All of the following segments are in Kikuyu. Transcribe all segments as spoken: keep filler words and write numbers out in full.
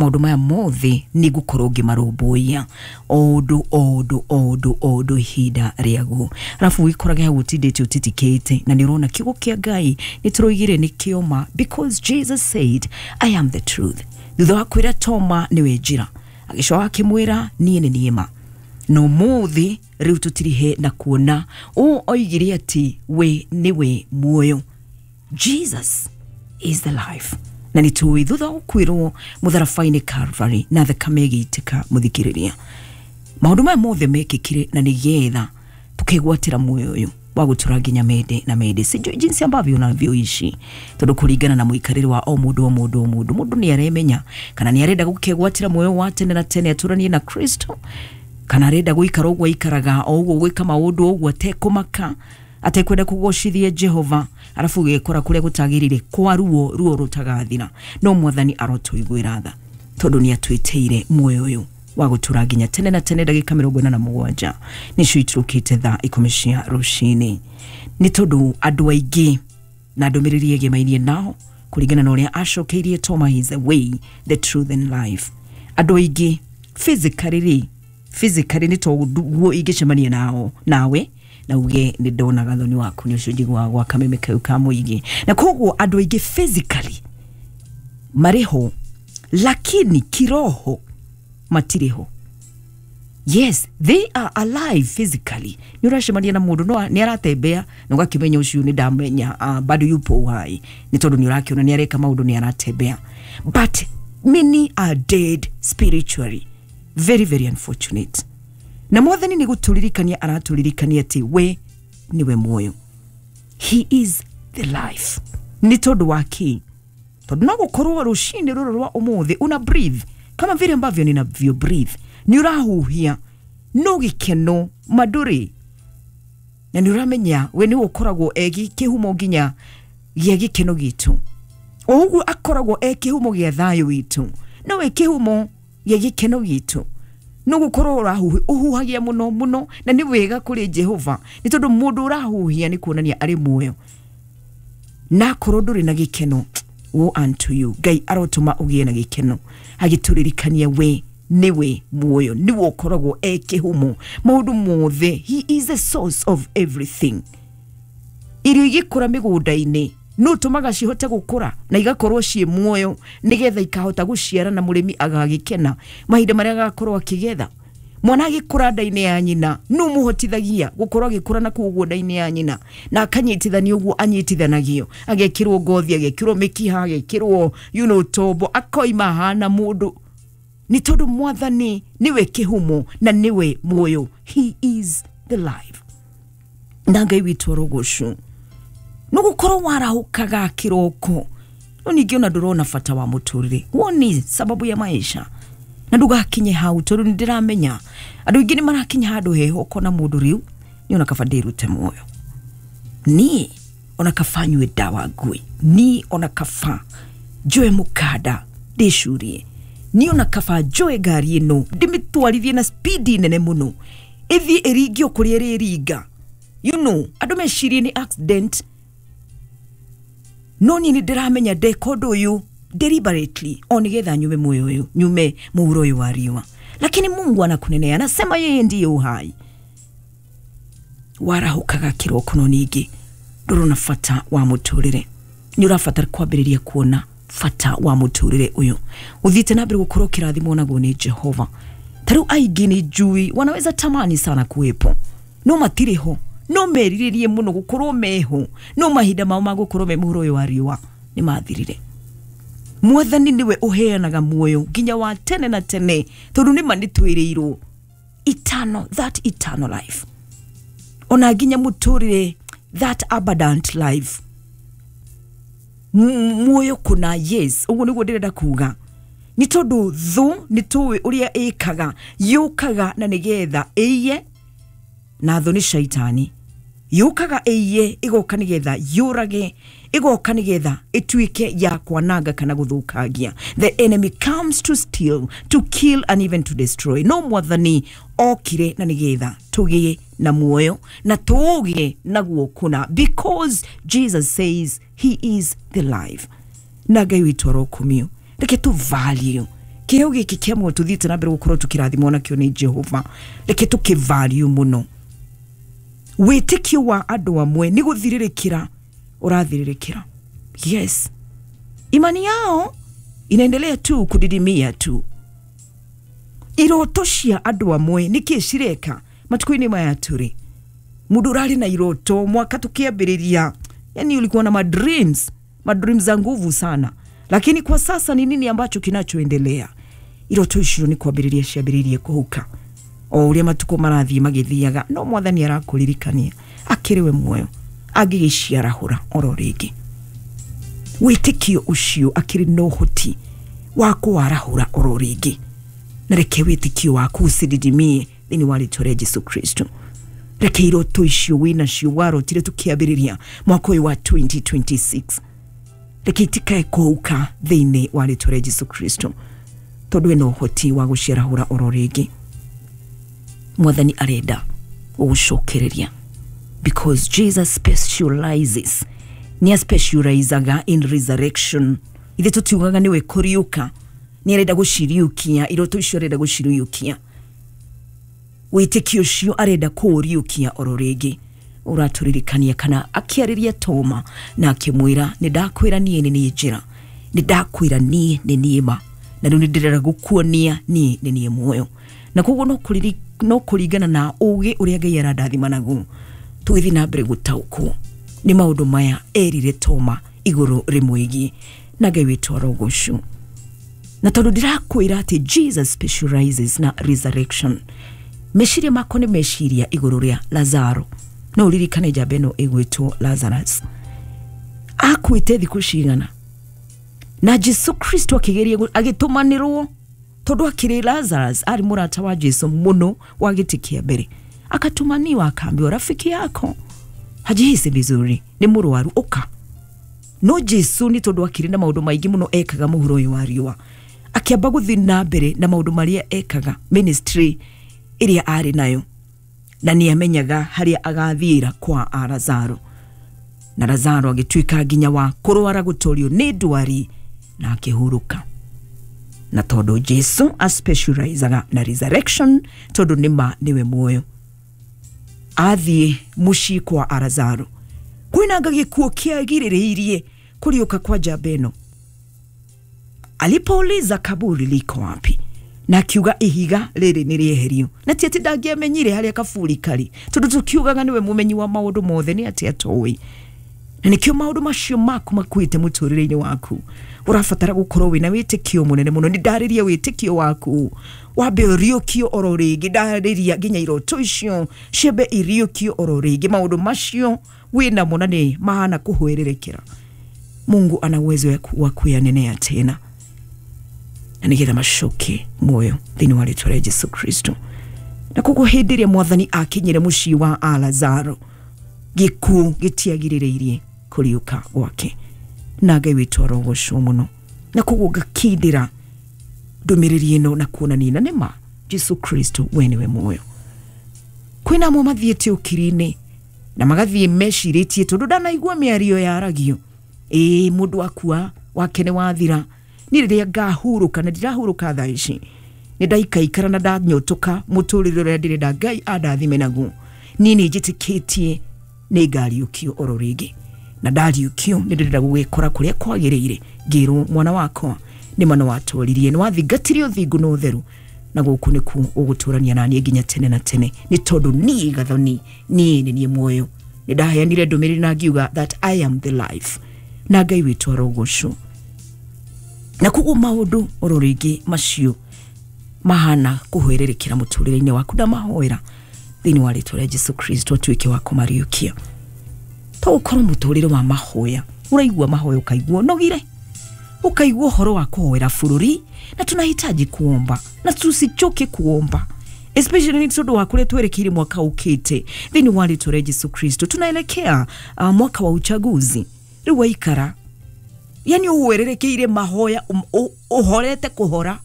Maũndũ maya mothe nĩ ngũkorwo ngĩmarũmbũiya o ũndũ o ũndũ o ũndũ o ũndũ ihinda rĩaguo. Arabu wĩkorage hau ũtindĩte ũtitikĩte, na nĩ ũrona kiugo kĩa Ngai nĩ tũroigire nĩ kĩoma, because Jesus said, "I am the truth." Thutha wa kwĩra Toma nĩwe njĩra, agĩcoka akĩmwĩra, "Niĩ nĩ niĩ ma." No mũthĩ rĩu tũtirihe na kuona ũũ oigire atĩ we nĩwe muoyo. Jesus is the life. Na nĩ tũĩ thutha wa gũkuĩrwo mũtharaba-inĩ Calvary na thakame ĩgĩitĩka, mũthikĩrĩria, maũndũ maya mothe mekĩkire na nĩgetha tukegwatĩra muoyo ũyũ wa gũtũra nginya mende na mende. Sijui jinsi ambavyo unavyoishi, tondũ kũringana na mũikarĩre wa o mũndũ o mũndũ o mũndũ, mũndũ nĩ aremenya kana nĩ arenda gũkegwatĩra muoyo wa tene na tene atũranie na Kristo, kana arenda gũikara ũguo aikaraga o ũguo, gwĩka maũndũ ũguo atekũmaka, atekwenda kũgocithia Jehova, arabu ũgekora kũrĩa gũtagĩrĩire kwa ruo ruo rũtagathira. No Mwathani arotũiguĩra tha, tondũ nĩ atwĩtĩire muoyo ũyũ wa gũtũra nginya tene na tene. Ndagĩka mĩrongo ĩna na mũgwanja nĩcio iturũkĩte thaa ikũmi cia rũcinĩ. Nĩ tondũ andũ aingĩ na ndũmĩrĩri ĩgemainie nao kũringana na ũrĩa acokeirie Toma, he is the way, the truth and life. Andũ aingĩ physically rĩ, physically nĩ toguo ingĩcemania nao nawe na uge nĩ ndona gathoni waku nĩ ũcio njiguaga gwa kameme kau ka mũingĩ, na koguo andũ aingĩ physically marĩ ho, lakini kiroho matirĩ ho. Yes, they are alive physically. Nĩ ũracemania na mũndũ no nĩ aratembea na ũgakĩmenya ũcio nĩ ndamenya, uh, bado yupo uhai, nĩ tondũ nĩ ũrakĩona nĩ areka maũndũ, nĩ aratembea, but many are dead spiritually. Very, very unfortunate. Na Mwathani nĩ gũtũririkania aratũririkania atĩ we nĩwe muoyo. He is the life. Nĩ tondũ wa kĩ? Tondũ no gũkorwo rũcinĩ rũrũ rwa ũmũthĩ una breathe kama vile ambavyo ninavyo breathe, nĩ ũrahuhia, no gĩkeno mandũrĩ, na nĩ ũramenya we nĩwe ũkoragwo e kĩhumo nginya gĩa gĩkeno gitũ, o ũguo akoragwo e kĩhumo gĩa thayũ witũ, nowe kĩhumo gĩa gĩkeno gitũ. No gũkorwo ũrahuhia, ũhuhagia mũno mũno, na nĩ wega kũrĩ Jehova, nĩ tondũ mũndũ ũrahuhia nĩ kuonania arĩ muoyo. Na akorwo ndũrĩ na gĩkeno, woe unto you. Ngai arotũma ũgĩe na gĩkeno, agĩtũririkania we nĩwe muoyo, nĩwe ũkoragwo e kĩhumo maũndũ mothe. He is the source of everything. Irio igĩkũra mĩgũnda-inĩ, no tũmaga cihote gũkũra na igakorwo ciĩ muoyo, nĩgetha ikahota gũciara na mũrĩmi agagĩkena mahinda marĩa agakorwo akĩgetha. Mwana agĩkũra nda-inĩ ya nyina, no mũhotithagia gũkorwo agĩkũra na kũu ũguo nda-inĩ ya nyina, na akanyitithanio ũguo anyitithanagio, agekĩrwo ngothi, agekĩrwo mĩkiha, agekĩrwo you know, tombo, akoima ahana mũndũ, nĩ tondũ Mwathani nĩwe kĩhumo na nĩwe muoyo. He is the life. Na Ngai witũ arogocwo. No gũkorwo warahũkaga kĩroko, no ningĩ ona ndũrona bata wa mũtũrĩre, woni sababu ya maisha, na ndũgakinye hau, tondũ nĩ ndĩramenya andũ aingĩ nĩ marakinya handũ heho, ũkona mũndũ rĩu nĩ ona kaba ndĩrute muoyo, niĩ ona kaba nyue ndawa ngui, niĩ ona kaba njoe mũkanda ndĩcurie, niĩ ona kaba njoe ngari ĩno ndĩmĩtwarithie na spidi nene mũno, ĩthiĩ ĩringio kũrĩa ĩrĩringa, you know andũ mecirie nĩ accident. No niĩ nĩ ndĩramenya ndeka ũndũ ũyũ deliberately o nĩgetha nyume muoyo ũyũ, nyume mũhuro ũyũ wa riũa. Lakini Mungu anakunenea, anasema yeye ndiye uhai. Warahũkaga kĩroko, no ningĩ ndũrona bata wa mũtũrĩre, nĩ ũrabatara kwambĩrĩria kuona bata wa mũtũrĩre ũyũ ũthiĩte na mbere gũkorwo kĩrathimwo naguo nĩ Jehova. Ta rĩu aingĩ nĩ njui wanaweza tamani sana kuwepo, no matirĩ ho, no merirĩrie mũno gũkorwo meho, no mahinda mao ma gũkorwo me mũhuro ũyũ wa riũa nĩ mathirire. Mwathani nĩwe ũheanaga muoyo nginya wa tene na tene, tondũ nĩma nĩ twĩrĩirwo eternal, that eternal life, ona nginya mũtũrĩre, that abundant life, muoyo kũna. Yes, ũguo nĩguo ndĩrenda kuga, nĩ tondũ thũ nĩ tũĩ ũrĩa ĩkaga, yũkaga na nĩgetha ĩiye, na thũ nĩ shaitani, yũkaga ĩiye, ĩgoka nĩgetha yũrage, ĩgoka nĩgetha ĩtuĩke ya kwananga kana gũthũkangia. The enemy comes to steal, to kill and even to destroy. No Mwathani okire na nĩgetha tũgĩe na muoyo na tũgĩe naguo kũna, because Jesus says he is the life. Na Ngai witũ arokumio. Reke tũ value Kĩheo gĩkĩ kĩa muoyo tũthiĩte na mbere gũkorwo tũkĩrathimwo nakĩo nĩ Jehova, reke tũkĩvalue mũno. Wĩtĩkio wa andũ amwe nĩ gũthirĩrĩkĩra ũrathirĩrĩkĩra. Yes, imani yao inaendelea tu kudidimia tu. Iroto cia andũ amwe nĩkĩ cireka matukũ-inĩ maya tũrĩ? Mũndũ ũrarĩ na iroto mwaka tukiambĩrĩria, yani ulikuwa na madreams, madreams za nguvu sana, lakini kwa sasa ni nini ambacho kinachoendelea? Iroto icio nĩ kwambĩrĩria ciambĩrĩirie kũhuka o ũrĩa matukũ marathiĩ magĩthiaga, no mwathani arakũririkania akĩrĩ we muoyo angĩgĩciarahũra oro rĩngĩ. Wĩtĩkio ũcio akĩrĩ na ũhoti wa kũwarahũra oro rĩngĩ, na reke wĩtĩkio waku ũcididimie thĩinĩ wa rĩtwa rĩa Jesu Kristo. Reke iroto icio wĩnacio warotire tũkĩambĩrĩria mwaka ũyũ wa twenty twenty-six, reke itikae kũhuka thĩinĩ wa rĩtwa rĩa Jesu Kristo, tondũ ena ũhoti wa gũciarahũra oro rĩngĩ. Mwathani arenda gũgũcokereria because Jesus specializes, nĩ specializaga in resurrection. Ithe tũtiugaga nĩwe kũriũka, nĩ arenda gũciriũkia iroto icio, arenda gũciriũkia wĩtĩkio ũcio, arenda kũũriũkia oro rĩngĩ. Ũratũririkania kana akĩarĩria Toma na akĩmwĩra, nĩ ndakwĩra niĩ nĩ niĩ njĩra, nĩ ndakwĩra niĩ nĩ niĩ ma, na rĩu nĩ ndĩrenda gũkuonia niĩ nĩ niĩ muoyo. Na koguo no kũriri no kũringana na ũgĩ ũrĩa Ngai arandathima naguo tũgĩthiĩ na mbere gũtaũkwo nĩ maũndũ maya erire Toma igũrũ rĩmwĩgiĩ, na Ngai witũ arogocwo. Na tondũ ndĩrakwĩra atĩ Jesus specializes na resurrection, meciria makwa nĩ meciria igũrũ rĩa Lazaro. No ũririkane njamba ĩno ĩgwĩtwo Lazarus akuĩte thikũ cigana, na Jesu Kristo akĩgeria agĩtũmanĩrwo, tondũ akĩrĩ Lazarus arĩ mũrata wa Jesu mũno wa gĩtĩ kĩa mbere, akatumaniwa akaambiwa rafiki yako hajihisi vizuri, nĩ mũrwaru, ũka. No Jesu nĩ tondũ akĩrĩ na maũndũ maingĩ mũno ekaga mũhuro ũyũ wa riũa, akĩamba gũthiĩ na mbere na maũndũ marĩa ekaga, ministry ĩrĩa arĩ nayo, na nĩ amenyaga harĩa agathiĩra kwa Lazaro. Na Lazaro agĩtuĩka nginya wa kũrwara gũtorio nĩ ndwari na akĩhurũka. Na tondũ Jesu aspecializaga na resurrection, tondũ nĩ ma nĩwe muoyo, athiĩ mũciĩ kwa Lazaro kwĩnanga gĩkuũ kĩagirĩrĩirie kũriũka kwa njamba ĩno. Alipouliza kaburi liko wapi, na akiuga ihiga rĩrĩ nĩ rĩeherio, na ti atĩ ndangĩamenyire harĩa kaburi karĩ, tondũ tũkiugaga nĩwe mũmenyi wa maũndũ mothe, nĩ atĩ atoĩ. Na nĩkĩo maũndũ macio maku makuĩte mũtũrĩre-inĩ waku ũrabatara gũkorwo wĩna wĩtĩkio mũnene mũno. Nĩ ndarĩria wĩtĩkio waku wambe ũriũkio oro rĩngĩ, ndarĩria nginya iroto icio ciambe iriũkio oro rĩngĩ, maũndũ macio wĩnamo na nĩ mahana kũhwererekera. Mungu ana uwezo wa kuyanenea tena, na nĩgetha macoke muoyo thĩinĩ wa rĩtwa rĩa Jesu Kristo. Na koguo hĩndĩ ĩrĩa mwathani akinyire mũciĩ wa Lazaro, gĩkuũ gĩtiagirĩrĩirie kũriũka gwake, na Ngai witũ arogocwo mũno. Na koguo ngakindĩra ndũmĩrĩri ĩno na kuonania na nĩma Jesu Kristo we nĩwe muoyo. Kwĩna amwe mathiĩte ũkiri-inĩ na magathiĩ mecirĩtie, tondũ ndanaigua mĩario yaragio, ĩĩ mũndũ akua wake nĩ wathira, niĩ rĩrĩa ngahurũka, na ndirahurũka thaa ici, nĩ ndaikaikara na ndanyotoka mũtũrĩre ũrĩa ndĩrenda Ngai andathime naguo, niĩ nĩ njĩtĩkĩtie nĩ ngariũkio oro rĩngĩ, na ndariũkio nĩ ndĩrenda gũgĩkora kũrĩa kwagĩrĩire, ngĩrwo mwana wakwa nĩ ma nĩ watũririe, nĩ wathingatire ũthingu na ũtheru, na gũkũ nĩkuo ũgũtũrania na niĩ nginya tene na tene, nĩ tondũ niĩ Gathoni niĩ nĩ niĩ muoyo. Nĩ ndaheanire ndũmĩrĩri na ngiuga that I am the life, na Ngai witũ arogocwo. Na koguo maũndũ oro rĩngĩ macio mahana kũhwererekera mũtũrĩre-inĩ waku, ndamahoera thĩinĩ wa rĩtwa rĩa Jesu Kristo atuĩke wa kũmariũkia. To ũkorwo mũtũrĩre wa mahoya, ũraigua mahoya ũkaigua ũnogire, ũkaigua ũhoro wa kũhoera bũrũri, na tunahitaji kuomba na tusichoke kuomba, especially nĩ tondũ wa kũrĩa twerekeire mwaka ũkĩte thĩinĩ wa rĩtwa rĩa Jesu Kristo. Tunaelekea uh, mwaka wa uchaguzi. Rĩu waikara yani ũhwererekeire mahoya, ũhorete kũhora,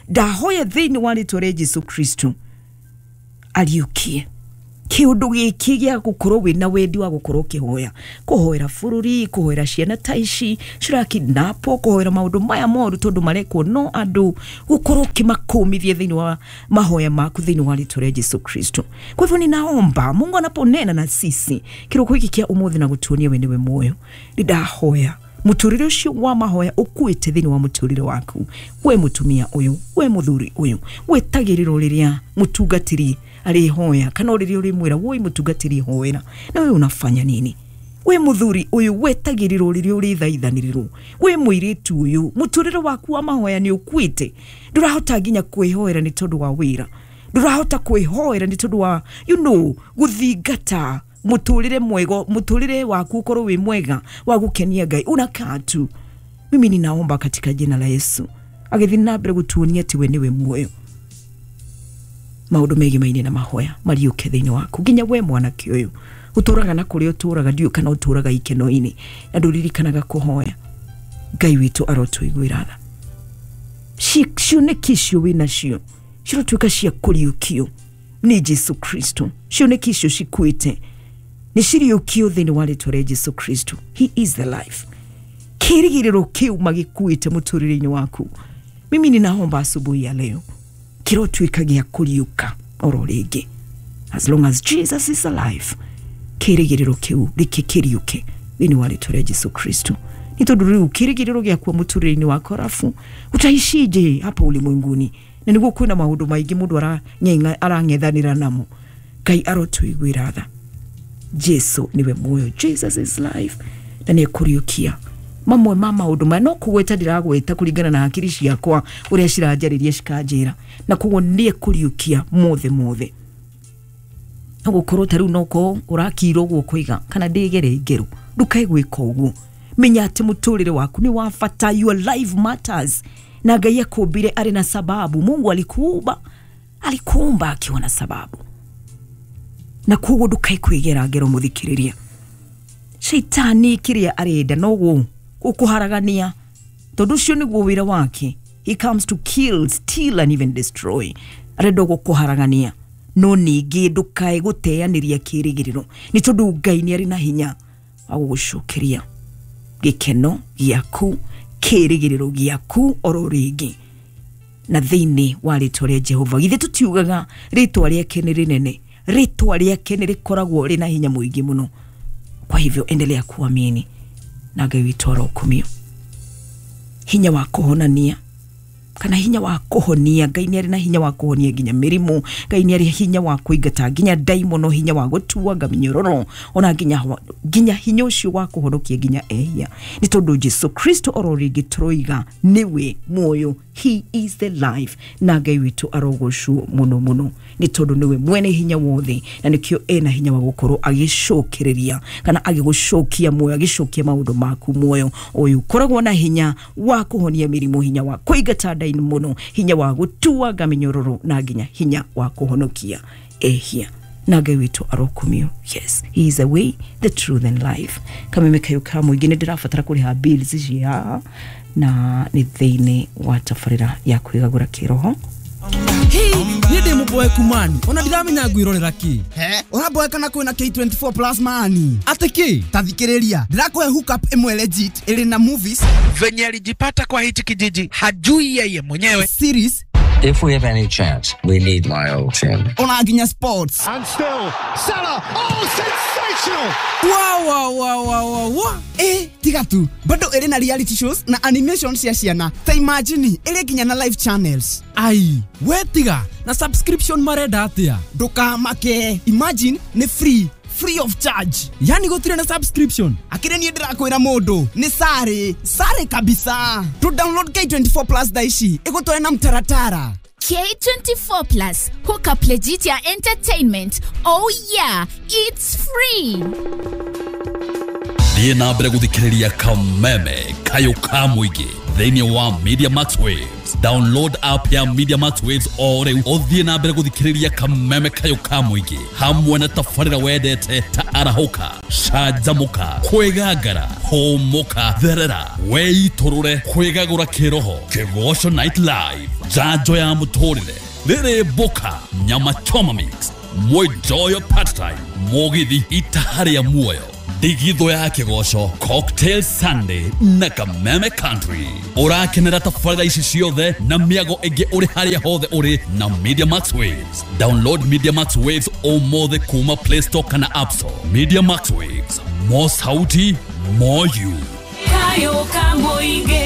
ndahoya thĩinĩ wa rĩtwa rĩa Jesu Kristo ariũkie Kiundu giki gĩa gũkorwo wĩna wendi wa gũkorwo ũkĩhoya, kũhoera bũrũri, kũhoera ciana ta ici cirakidnapo, kũhoera maũndũ maya moru tondũ marekwo no andũ, gũkorwo ũkĩmakũmithia thĩinĩ wa mahoya maku thĩinĩ wa rĩtwa rĩa Jesu Kristo. Kwa hivyo ninaomba Mungu anaponena na sisi kĩroko gĩkĩ kĩa ũmũthĩ na gũtuonia we nĩwe muoyo, nĩndahoya muturire ucio wa mahoya ukuite thini wa muturire waku, we mutumia uyu, we muthuri uyu, wetagĩrĩrwo rĩrĩa mutungatĩri arĩhoya kana rĩrĩa ũrĩmwĩra woi mutungatĩri hoera, na we unafanya nini? We muthuri uyu wetagĩrĩrwo rĩrĩa ũrĩthaithanĩrĩrwo, we mũirĩtu uyu muturire waku wa mahoya nĩ ukuite, ndũrahota nginya kwĩhoera nĩ tondũ wa wĩra, ndũrahota kwĩhoera nĩ tondũ wa you know gũthingata muturire mwega, muturire waku ukorwo wi mwega wa gukenia Ngai, unakaa tu. Mimi ninaomba katika jina la Yesu agithi na mbere gutuonia ati we niwe muoyo, maundu megimaine na mahoya mariuke thiini waku, nginya we mwanake uyu uturaga na kuria uturaga ndiu kana uturaga ikeno-ini na nduririkanaga kuhoya. Ngai witu arotuiguira tha, cioneki icio wĩ nacio cirotuĩka cia kũriũkio nĩ Jesu Kristo, cioneki icio cikuĩte nĩ ciriũkio thĩinĩ wa rĩtwa rĩa Jesu Kristo. He is the life. Kĩrĩgĩrĩro kĩu magĩkuĩte mũtũrĩre-inĩ waku, mimi ninaomba asubuhi ya leo kĩrotuĩka gĩa kũriũka oro rĩngĩ. As long as Jesus is alive, kĩrĩgĩrĩro kĩu rĩkĩkĩriũke thĩinĩ wa rĩtwa rĩa Jesu Kristo. Nĩ tondũ rĩu kĩrĩgĩrĩro gĩakwa mũtũrĩre-inĩ waku, arafu utaishije hapa ulimwenguni? Na nĩguo kwĩna maũndũ maingĩ mũndũ arang'ethanĩra namo. Ngai arotũiguĩra tha. Jesu niwe muoyo, Jesus is life, na nĩ ekũriũkia mamwe ma maũndũ maya no kũgweta ndiragweta kũringana na hakiri ciakwa ũrĩa ciranjarĩria cikanjĩra, na koguo nĩ ekũriũkia mothe mothe. No gũkorwo ta rĩu noko ũrakirwo ũguo kũiga kana ndĩgere ngero, ndukae gwĩka ũguo. Menya atĩ mũtũrĩre waku nĩ wa bata, your life matters, na Ngai akũmbire arĩ na sababu. Mungu alikuumba, alikuumba akiwa na sababu, na koguo ndukae kwĩgera ngero mũthikĩrĩria. Shaitani kĩrĩa arenda no gũkũharagania, tondũ ũcio nĩguo wĩra wake. He comes to kill, steal and even destroy. Arenda gũkũharagania, no ningĩ ndukae gũteanĩria kĩrĩgĩrĩro, nĩ tondũ Ngai nĩ arĩ na hinya wa gũgũcokeria gĩkeno gĩaku, kĩrĩgĩrĩro gĩaku oro rĩngĩ na thĩinĩ wa rĩtwa rĩa Jehova. Githĩ tũtiugaga rĩtwa rĩake nĩ rĩnene, rĩtwa rĩake nĩ rĩkoragwo rĩna hinya mũingĩ mũno. Kwa hivyo endelea kuamini na Ngai witũ arokumio. Hinya wa kũhonania kana hinya wa kũhonia, Ngai nĩ arĩ na hinya wa kũhonia nginya mĩrimũ, Ngai nĩ arĩ hinya wa kũingata nginya ndaimono, hinya wa gũtuanga mĩnyororo, ona nginya nginya hinya ũcio wa kũhonokia nginya ehia, nĩ tondũ Jesu Kristo oro rĩngĩ tũroiga nĩwe muoyo, he is the life, na Ngai witũ arogocwo mũno mũno, nĩ tondũ nĩwe mwene hinya wothe, na nĩkĩo ena hinya wa gũkorwo agĩcokereria kana agĩgũcokia muoyo, agĩcokia maũndũ maku muoyo ũyũ. Koragwo na hinya wa kũhonia mĩrimũ, hinya wa kũingata ndaimono, hinya wa gũtuanga mĩnyororo, na nginya hinya wa kũhonokia ehia, na Ngai witũ arokumio. Yes, he is the way, the truth and life. Kameme kayo ka mũingĩ nĩ ndĩrabatara kũrĩha bills ici haha, na nĩ thĩinĩ wa tabarĩra ya kwĩgagũra kĩroho. Hii niĩ ndĩ mũboeku mani, ona ndiramenya ngwĩrorera kĩ. He, ũraboeka na kwĩna K twenty-four plus mani. Atĩ kĩ? Ta thikĩrĩria, ndĩrakũhe hookup ĩmwe legit ĩrĩ na movies. Venye alijipata kwa hichi kijiji hajui yeye mwenyewe. Series. If we have any chance, we need my old team. Ona nginya sports. And still, Salah, oh, sensational! Wow, wow, wow, wow, wow, wow. Eh, tiga tu. Bado ĩrĩ na reality shows na animation cia ciana. Ta imagine, ĩrĩ nginya na live channels. Ai, we tiga, na subscription marenda atĩa? Ndũkamake. Imagine, nĩ free. Free of charge. Yani gũtirĩ na subscription. Akĩrĩ niĩ ndĩrakwĩra mũndũ nĩ sare, sare kabisa. To download K twenty-four plus thaa ici ĩgũtware na mtaratara. K twenty-four plus, hook up legit ya entertainment. Oh yeah, it's free. Thiĩ na mbere gũthikĩrĩria Kameme Kayo ka mũingĩ thĩinĩ wa Media Max Waves. Download app ya Media Max Waves o rĩu ũthiĩ na mbere gũthikĩrĩria Kameme Kayo ka mũingĩ hamwe na tabarĩra wendete ta arahũka, canjamũka, kwĩgangara, hũmũka, therera, weitũrũre, kwĩgagũra kĩroho, Kĩgoco Night Live, njanjo ya mũtũrĩre, rĩrĩ mboka, nyama choma mix, Mwenjoyo part time, Mugithi Itaharia Muoyo, Ndigitho ya Kĩgoco, Cocktail Sunday na Kameme Country. Ũrakenera tabarĩra ici ciothe na mĩago ĩngĩ ũrĩ harĩa hothe ũrĩ na Media Max Waves. Download Media Max Waves ũmũthĩ kuma Play Store kana App Store. Media Max Waves, more sauti, more you. Kayo Kamũingĩ.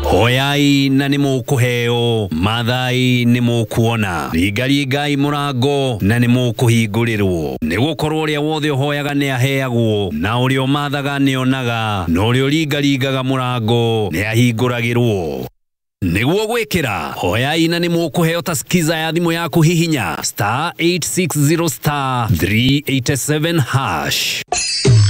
Hoyai na nĩ mũkũheo, mathai nĩ mũkuona, ringaringai mũrango na nĩ mũkũhingũrĩrwo. Nĩ gũkorwo ũrĩa wothe ũhoyaga nĩ aheagwo, na ũrĩa ũmathaga nĩ onaga, na ũrĩa ũringaringaga mũrango nĩ ahingũragĩrwo. Nĩguo gwĩkĩra hoyai na nĩ mũkũheo ta skiza ya thimũ yaku hihinya star eight six zero star three eight seven hash.